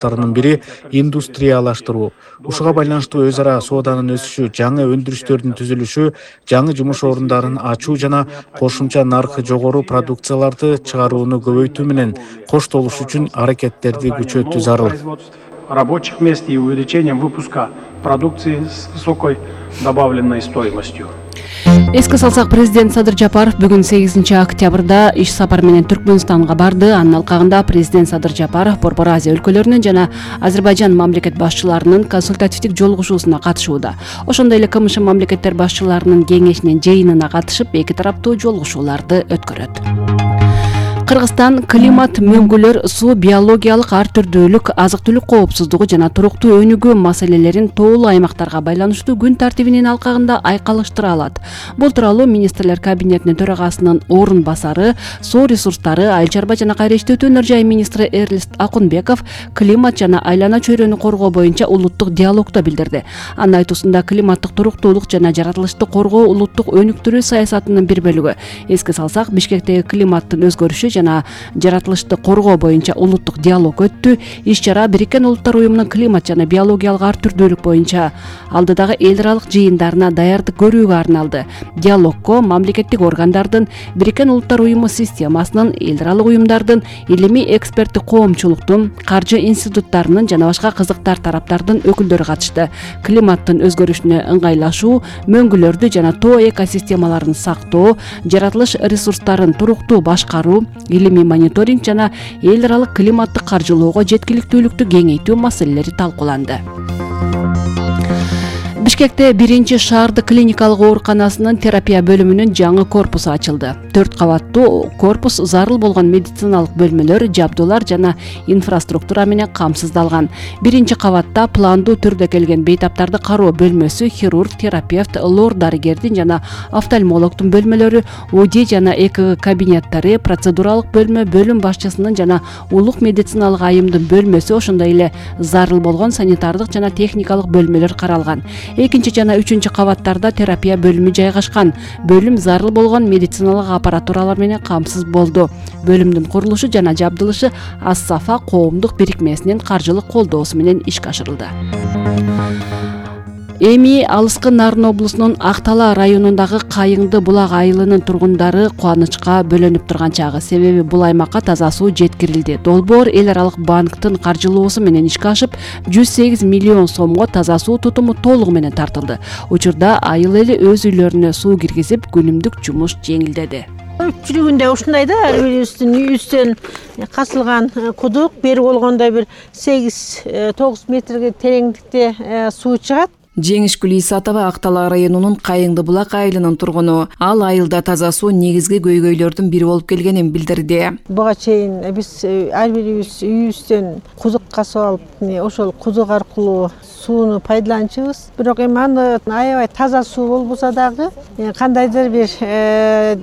багыттарынын бири индустриялаштыруу. Ушуга байланыштуу өз ара сооданын өсүшү, жаңы өндүрүштөрдүн түзүлүшү, жаңы жумуш орундарын ачуу жана кошумча наркы жогору продукцияларды чыгарууну көбөйтүү менен коштолуш үчүн аракеттерди күчөтүү зарыл. Рабочих мест и увеличением выпуска продукции с высокой добавленной стоимостью. Эске салсак, президент Садыр Жапаров бүгүн 8 октябрда иш сапар менен Түркмөнстанга барды. Анын алкагында президент Садыр Жапаров Борбор Азия өлкөлөрүнүн жана Азербайжан мамлекет башчыларынын консультативдик жолугушуусуна катышууда. Ошондой эле КМШ мамлекеттер башчыларынын кеңешинин жыйынына катышып, эки тараптуу жолугушууларды өткөрөт. Кыргызстан климат, мөңгүлөр, суу, биологиялык ар түрдүүлүк, азык-түлүк коопсуздугу жана туруктуу өнүгүү маселелерин тоолуу аймактарга байланыштуу күн тартибинин алкагында айкалыштыра алат. Бул тууралуу министрлер кабинетинин төрагасынын орун басары, суу ресурстары, айыл чарба жана кайра иштетүү өнөр жай министри Эрлист Акунбеков климат жана айлана чөйрөнү коргоо боюнча улуттук диалогдо билдирди. Анын айтуусунда климаттык туруктуулук жана жаратылышты коргоо улуттук өнүктүрүү саясатынын бир бөлүгү. Эске салсак, Бишкектеги климаттын өзгөрүшү жана жаратылышты коргоо боюнча улуттук диалог өттү. Иш-чара Бириккен Улуттар уюмунун климат жана биологиялык ар түрдүүлүк боюнча алдыдагы эл аралык жыйындарына даярдык көрүүгө арналды. Диалогго мамлекеттик органдардын, Бириккен Улуттар уюму системасынын, эл аралык уюмдардын, илимий эксперттик коомчулуктун, каржы институттарынын жана башка кызыктар тараптардын өкүлдөрү катышты. Климаттын өзгөрүшүнө ыңгайлашуу, мөңгүлөрдү жана тоо экосистемаларын сактоо, жаратылыш ресурстарын туруктуу башкаруу, илимий мониторинг жана эл аралык климаттык каржылоого жеткиликтүүлүктү кеңейтүү маселелери талкууланды. Бишкекте 1-шаардык клиникалык ооруканасынын терапия бөлүмүнүн жаңы корпусу ачылды. 4 кабаттуу корпус зарыл болгон медициналык бөлмөлөр, жабдуулар жана инфраструктура менен камсыздалган. 1-кабатта пландуу түрдө келген бейтаптарды кароо бөлмөсү, хирург, терапевт, лор дарыгердин жана офтальмологдун бөлмөлөрү, УДИ жана ЭКГ кабинеттери, процедуралык бөлмө, бөлүм башчысынын жана улук медициналык айымдын бөлмөсү, ошондой эле зарыл болгон санитардык жана техникалык бөлмөлөр каралган. 2 жана 3 кабаттарда терапия бөлүмү жайгашкан. Бөлүм зарыл болгон медициналык аппаратуралар менен камсыз болду. Бөлүмдүн курулушу жана жабдылышы Ас-Сафа коомдук бирикмесинин каржылык колдоосу менен ишке ашырылды. Эми алыскы Нарын облусунун Актала районундагы Кайыңды булак айылынын тургундары кубанычка бөлөнүп турган чагы. Себеби бул аймакка таза суу жеткирилди. Долбоор эл аралык банктын каржылоосу менен ишке ашып, 108 миллион сомго таза суу тутуму толугу менен тартылды. Учурда айыл эли өз үйлөрүнө суу киргизип, күнүмдүк жумуш жеңилдеди. Көпчүлүгүндө ушундай да, ар бирибиздин үйүбүздөн касылган кудук, бери болгондо бир 8-9 метрге тереңдикте суу чыгат. Жеңишгүл Исатова Актала районунун Кайыңды булак айылынын тургуну. Ал айылда таза суу негизги көйгөйлөрдүн бири болуп келгенин билдирди. Буга чейин биз ар бирибиз үйүбүздөн кудук касып алып, ошол кудук аркылуу сууну пайдаланчубуз. Бирок эми аны аябай таза суу болбосо дагы кандайдыр бир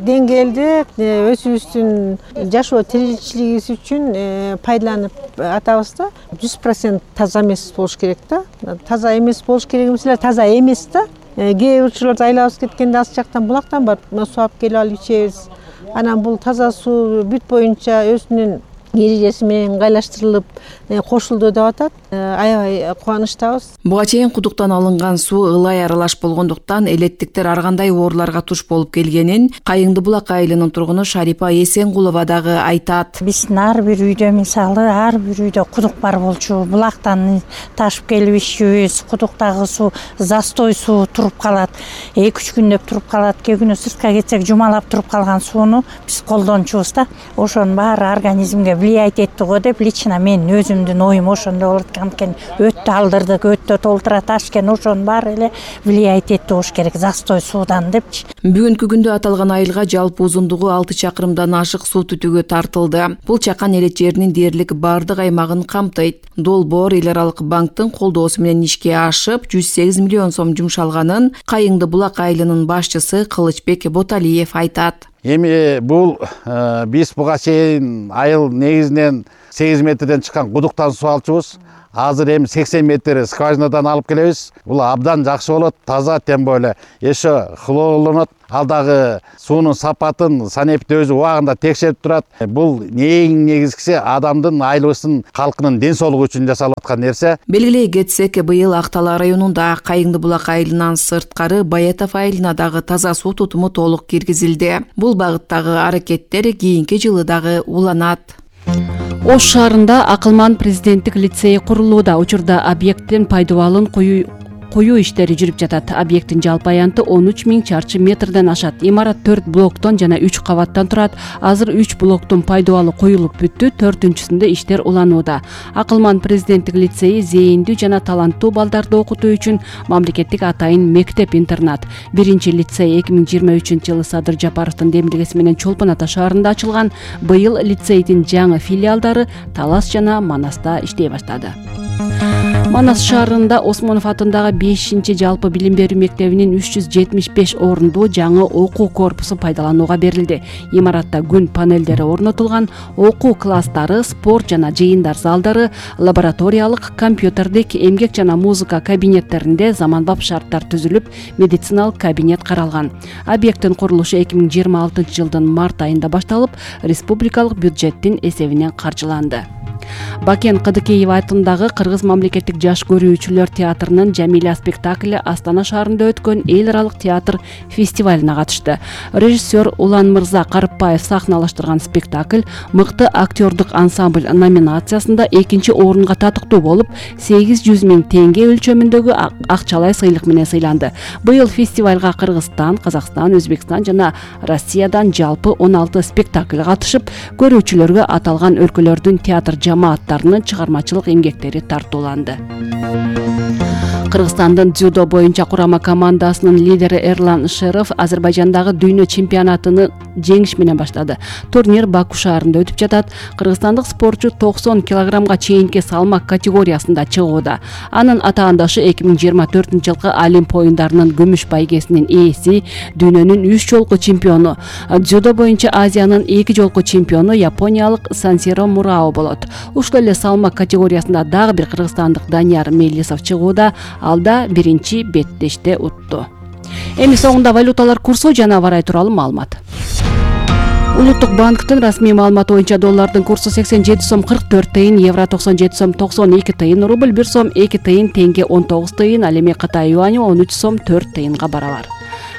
деңгээлде өзүбүздүн жашоо тиричилигибиз үчүн пайдаланып атабыз да. 100% таза эмес болуш керек да. Таза эмес болуш керек эмес эле, таза эмес да. Кээ бир учурларда айлабыз кеткенде ал жактан булактан барып суу алып келип алып ичебиз. Анан бул таза суу бүт боюнча өзүнүн эрежеси менен ыңгайлаштырылып кошулду деп атат. Аябай кубанычтабыз. Буга чейин кудуктан алынган суу ылай аралаш болгондуктан элеттиктер ар кандай ооруларга туш болуп келгенин Кайыңды булак айылынын тургуну Шарипа Эсенгулова дагы айтат. Биздин ар бир үйдө, мисалы, ар бир үйдө кудук бар болчу. Булактан ташып келип ичүүбүз, кудуктагы суу застой суу туруп калат. 2-3 күндөп туруп калат. Кээ күнү сыртка кетсек жумалап туруп калган сууну биз колдончубуз да. Ошонун баары организмге влиять этти го деп лично мен өзүмдүн оюм ошондой болот экен. Өттө алдырдык, өттө толтура ташкен, ошонун баары эле влиять этти болуш керек застой суудан депчи. Бүгүнкү күндө аталган айылга жалпы узундугу 6 чакырымдан ашык суу түтүгү тартылды. Бул чакан элет жеринин дээрлик бардык аймагын камтыйт. Долбоор эл аралык банктын колдоосу менен ишке ашып, 108 миллион сом жумшалганын Кайыңды булак айылынын башчысы Кылычбек Боталиев айтат. Эми бул биз буга чейин айыл негизинен 8 метрден чыккан кудуктан суу алчубуз. азыр эми 80 метр скважинадан алып келебиз. Бул абдан жакшы болот, таза, тем более еще хлорлонот. Ал дагы суунун сапатын санэпит өзү убагында текшерип турат. Бул эң негизгиси адамдын, айлыбыздын, калкынын ден соолугу үчүн жасалып аткан нерсе. Белгилей кетсек, быйыл Актала районунда Кайыңды булак айылынан сырткары Баятов айылына дагы таза суу тутуму толук киргизилди. Бул багыттагы аракеттер кийинки жылы дагы уланат. Ош шаарында Акылман президенттик лицейи курулууда. Учурда объекттин пайдаланууну коюу иштери жүрүп жатат. Объекттин жалпы аянты 13 000 чарчы метрден ашат. Имарат 4 блоктон жана 3 кабаттан турат. Азыр 3 блоктун пайдаланууга коюлуп бүттү, 4-сүндө иштер уланууда. Акылман президенттик лицейи зээндүү жана таланттуу балдарды окутуу үчүн мамлекеттик атайын мектеп-интернат. Биринчи лицей 2023-жылы Садыр Жапаровдун демилгеси менен Чолпон Ата шаарында ачылган. Быйыл лицейдин жаңы филиалдары Талас жана Манаста иштей баштады. Манас шаарында Осмонов атындагы 5-чи жалпы билим берүү мектебинин 375 орундуу жаңы окуу корпусу пайдаланууга берилди. Имаратта күн панелдери орнотулган, окуу класстары, спорт жана жыйындар залдары, лабораториялык, компьютердик, эмгек жана музыка кабинеттеринде заманбап шарттар түзүлүп, медициналык кабинет каралган. Объекттин курулушу 2026-жылдын март айында башталып, республикалык бюджеттин эсебинен каржыланды. Бакен Кыдыкеева атындагы Кыргыз мамлекеттик жаш көрүүчүлөр театрынын Жамиля спектакли Астана шаарында өткөн эл аралык театр фестивалына катышты. Режиссер Улан Мырза Карыпбаев сахналаштырган спектакль мыкты актёрдук ансамбль номинациясында 2-чи орунга татыктуу болуп, 800 000 теңге өлчөмүндөгү акчалай сыйлык менен сыйланды. Быйыл фестивалга Кыргызстан, Казакстан, Өзбекстан жана Россиядан жалпы 16 спектакль катышып, көрүүчүлөргө аталган өлкөлөрдүн театр жамааттарынын чыгармачылык эмгектери тартууланды. Кыргызстандын дзюдо боюнча курама командасынын лидери Эрлан Шеров Азербайжандагы дүйнө чемпионатыны жеңиш менен баштады. Турнир Баку шаарында өтүп жатат. Кыргызстандык спортчу 90 килограммга чейинки салмак категориясында чыгууда. Анын атаандашы 2024-жылкы Олимп оюндарынын күмүш байгесинин ээси, дүйнөнүн 3 жолку чемпиону, дзюдо боюнча Азиянын 2 жолку чемпиону япониялык Сансиро Мурао болот. Ушул эле салмак категориясында дагы бир кыргызстандык Данияр Мелисов чыгууда. Алда биринчи беттеште утту. Эми соңунда валюталар курсу жана аба ырайы тууралуу маалымат. Улуттук банктын расмий маалыматы боюнча доллардын курсу 87 сом 44 тыйын, евро 97 сом 92 тыйын, рубль 1 сом 2 тыйын, теңге 19 тыйын, ал эми Кытай юаню 13 сом 4 тыйынга барабар.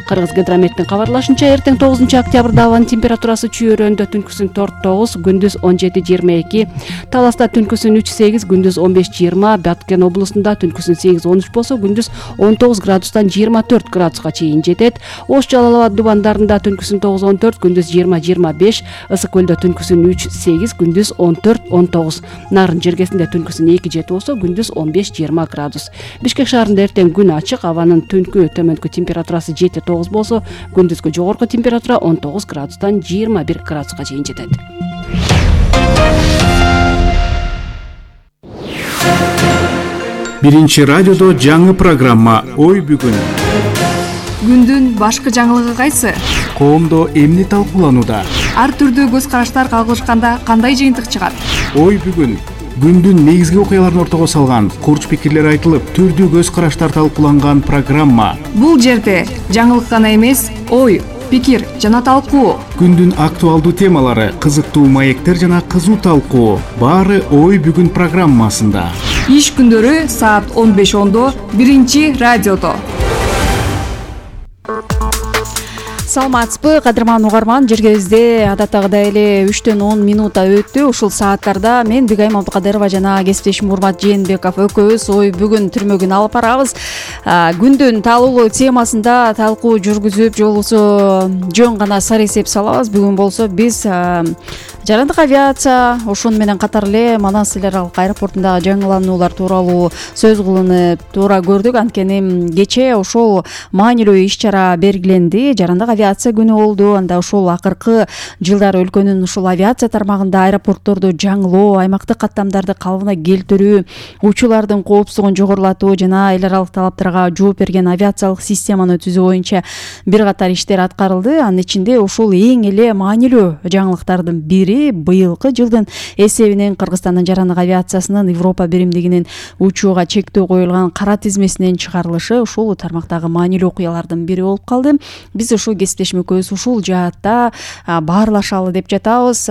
Кыргыз гидрометтин кабарлашынча, эртең 9-октябрда абанын температурасы Чүйөрөндө түнкүсүн 4-9, күндүз 17-22, Таласта түнкүсүн 3-8, күндүз 15-20, Баткен облусунда түнкүсүн 8-13 болсо, күндүз 19 градустан 24 градуска чейин жетет. Ош Жалал Абад дубандарында түнкүсүн 9-14, күндүз 20-25, Ысык көлдө түнкүсүн 3-8, күндүз 14-19, Нарын жергесинде түнкүсүн 2-7 болсо, күндүз 15-20 градус. Бишкек шаарында эртең күн ачык, абанын түнкү төмөнкү температурасы 7-9 болсо, күндүзгү жогорку температура 19 градустан 21 градуска чейин жетет. Биринчи радиодо жаңы программа Ой бүгүн. Күндүн башкы жаңылыгы кайсы? Коомдо эмне талкууланууда? Ар түрдүү көз караштар кагылышканда кандай жыйынтык чыгат? Ой бүгүн. Күндүн негизги окуяларын ортого салган, курч пикирлер айтылып, түрдүү көз караштар талкууланган программа. Бул жерде жаңылык гана эмес, ой, пикир жана талкуу. Күндүн актуалдуу темалары, кызыктуу маектер жана кызуу талкуу. Баары Ой бүгүн программасында. Иш күндөрү саат 15:10 биринчи радиодо. Саламатсызбы, кадырман угарман, жергебизде адаттагыдай эле 3:10 өттү. Ушул сааттарда мен Бигайым Абдыкадырова жана кесиптешим Урмат Жээнбеков экөөбүз Ой бүгүн түрмөгүн алып барабыз. Күндүн талуулуу темасында талкуу жүргүзүп, жолубузду жөн гана сар эсеп салабыз. Бүгүн болсо биз жарандык авиация, ошону менен катар эле Манас эл аралык аэропортундагы жаңылануулар тууралуу сөз кылынып туура көрдүк. Анткени кечээ ошол маанилүү иш-чара белгиленди. Жарандык авиация күнү болду. Анда ошол акыркы жылдары өлкөнүн ушул авиация тармагында аэропортторду жаңылоо, аймактык каттамдарды калыбына келтирүү, учуулардын коопсуздугун жогорулатуу жана эл аралык талаптарга жооп берген авиациялык системаны түзүү боюнча бир катар иштер аткарылды. Анын ичинде ушул эң эле маанилүү жаңылыктардын бири себеби быйылкы жылдын эсебинен Кыргызстандын жарандык авиациясынын Европа биримдигинин учууга чектөө коюлган кара тизмесинен чыгарылышы ушул тармактагы маанилүү окуялардын бири болуп калды. Биз ушул кесиптешим экөөбүз ушул жаатта баарлашалы деп жатабыз.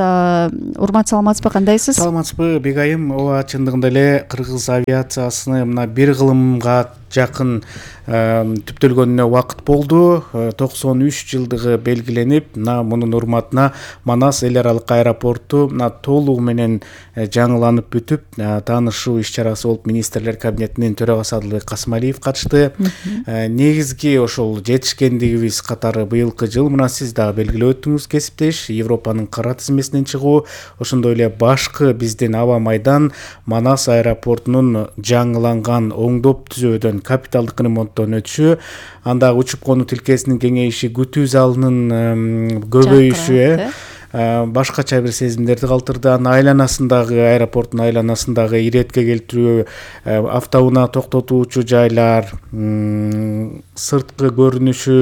Урмат, саламатсызбы, кандайсыз? Саламатсызбы Бегайым. Ооба, чындыгында эле кыргыз авиациясыны мына бир кылымга жакын түптөлгөнүнө убакыт болду. 93 жылдыгы белгиленип, мунун урматына Манас эл аралык аэропорту толугу менен жаңыланып бүтүп, таанышуу иш-чарасы болуп министрлер кабинетинин төрагасы Адылбек Касымалиев катышты. Негизги ошол жетишкендигибиз катары быйылкы жыл, мына сиз дагы белгилеп өттүңүз кесиптеш, Европанын кара тизмесинен чыгуу, ошондой эле башкы биздин аба майдан Манас аэропортунун жаңыланган оңдоп түзөөдөн капиталдык ремонттон өтүшү, андагы учуп конуу тилкесинин кеңейиши, күтүү залынын көбөйүшү башкача бир сезимдерди калтырды. Айланасындагы, аэропорттун айланасындагы иретке келтирүү, автоунаа токтотуучу жайлар, сырткы көрүнүшү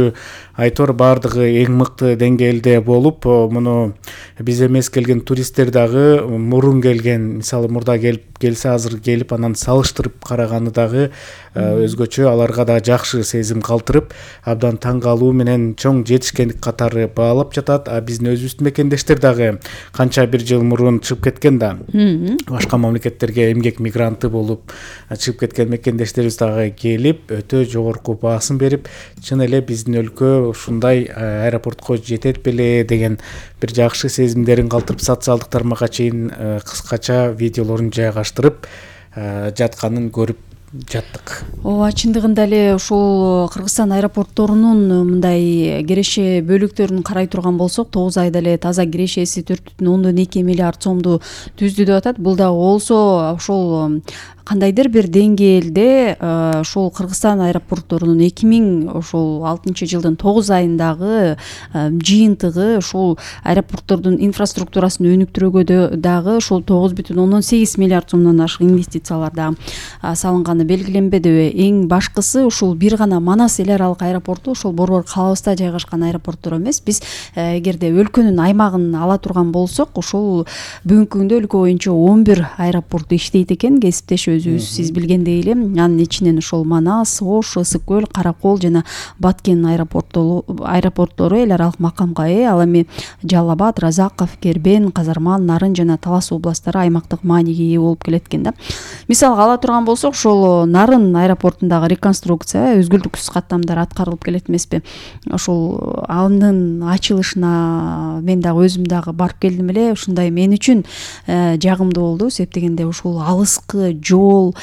айтор баардыгы эң мыкты деңгээлде болуп, муну биз эмес келген туристтер дагы мурун келген, мисалы мурда келсе азыр келип анан салыштырып караганы дагы өзгөчө, аларга да жакшы сезим калтырып, абдан таң калуу менен чоң жетишкендик катары баалап жатат. Биздин өзүбүздүн мекендештер дагы канча бир жыл мурун чыгып кеткен да, башка мамлекеттерге эмгек мигранты болуп чыгып кеткен мекендештерибиз дагы келип, өтө жогорку баасын берип, чын эле биздин өлкө ушундай аэропортко жетет беле деген бир жакшы сезимдерин калтырып, социалдык тармакка чейин кыскача видеолорун жайгаштырып жатканын көрүп жаттык. Ооба, чындыгында эле ушул Кыргызстан аэропортторунун мындай киреше бөлүктөрүн карай турган болсок, 9 айда эле таза кирешеси 4,2 миллиард сомду түздү деп атат. Бул дагы болсо ошол кандайдыр бир деңгээлде ушул Кыргызстан аэропортторунун 2006 жылдын 9 айындагы жыйынтыгы ушул аэропорттордун инфраструктурасын өнүктүрүүгө дагы ушул 9,8 миллиард сомдон ашык инвестициялар дагы салынганы белгиленбедиби? Эң башкысы ушул бир гана Манас эл аралык аэропорту ошол борбор калабызда жайгашкан аэропорттор эмес. Биз эгерде өлкөнүн аймагын ала турган болсок, ушул бүгүнкү күндө өлкө боюнча 11 аэропорт иштейт экен. Кесиптеш өзүбүз сиз билгендей эле, анын ичинен ошол Манас, Ош, Ысык көл, Каракол жана Баткен аэропорттору эл аралык макамга ээ. Ал эми Жалал Абад, Разаков, Кербен, Казарман, Нарын жана Талас областтары аймактык мааниге ээ болуп келет экен да. Мисалга ала турган болсок, ошол Нарын аэропортундагы реконструкция өзгүлтүксүз каттамдар аткарылып келет эмеспи? Ошол анын ачылышына мен дагы өзүм дагы барып келдим эле. Ушундай мен үчүн жагымдуу болду, себеп дегенде ушул алыскы жол,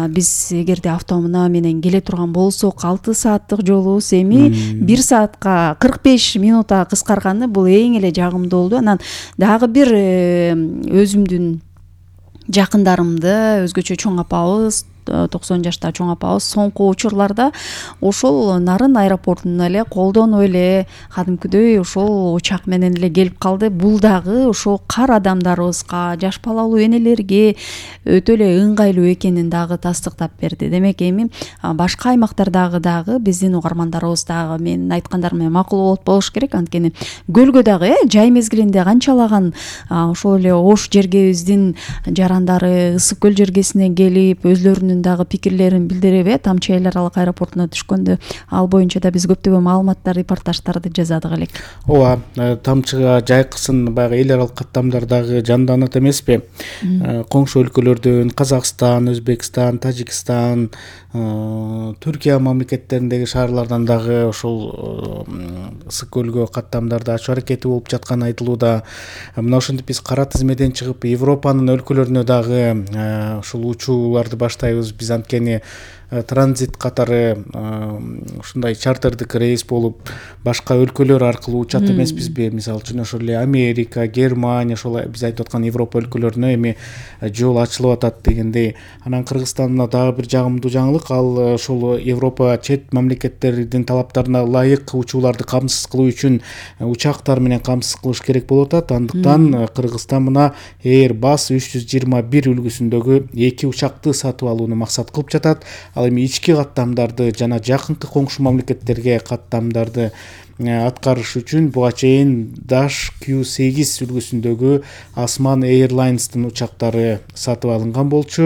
биз эгерде автоунаа менен келе турган болсок 6 сааттык жолубуз эми 1 саатка 45 минутта кыскарганы бул эң эле жагымдуу болду. Анан дагы бир өзүмдүн жакындарымды, өзгөчө чоң апабыз, 90 жашта чоң апабыз соңку учурларда ошол Нарын аэропортуна эле колдонуп эле кадимкидей ошол учак менен эле келип калды. Бул дагы ошол кар адамдарыбызга, жаш балалуу энелерге өтө эле ыңгайлуу экенин дагы тастыктап берди. Демек эми башка аймактардагы дагы биздин угармандарыбыз дагы менин айткандарым менен макул болуш керек. Анткени көлгө дагы жай мезгилинде канчалаган ошол эле Ош жергебиздин жарандары Ысык көл жергесине келип өзлөрүнүн дагы пикирлерин билдирип, Тамчы эл аралык аэропортуна түшкөндө ал боюнча да биз көптөгөн маалыматтар, репортаждарды жазадык элек. Ооба, Тамчыга жайкысын баягы эл аралык каттамдар дагы жанданат эмеспи? Коңшу өлкөлөрдөн Казакстан, Өзбекстан, Тажикстан, Түркия мамлекеттериндеги шаарлардан дагы ошол Ысык көлгө каттамдарды ачуу аракети болуп жатканы айтылууда. Мына ошентип биз кара тизмеден чыгып Европанын өлкөлөрүнө дагы ушул учууларды баштайбыз. Биз анткени транзит катары ушундай чартердик рейс болуп башка өлкөлөр аркылуу учат эмеспизби? Мисалы үчүн ошол эле Америка, Германия, ошол биз айтып аткан Европа өлкөлөрүнө эми жол ачылып атат дегендей. Анан Кыргызстанда дагы бир жагымдуу жаңылык, ал ошол Европа чет мамлекеттердин талаптарына ылайык учууларды камсыз кылуу үчүн учактар менен камсыз кылыш керек болуп атат. Андыктан Кыргызстан мына Airbus 321 үлгүсүндөгү 2 учакты сатып алууну максат кылып жатат. ал эми ички каттамдарды жана жакынкы коңшу мамлекеттерге каттамдарды аткарыш үчүн буга чейин Dash Q8 үлгүсүндөгү Osman Airlines'тын учактары сатып алынган болчу.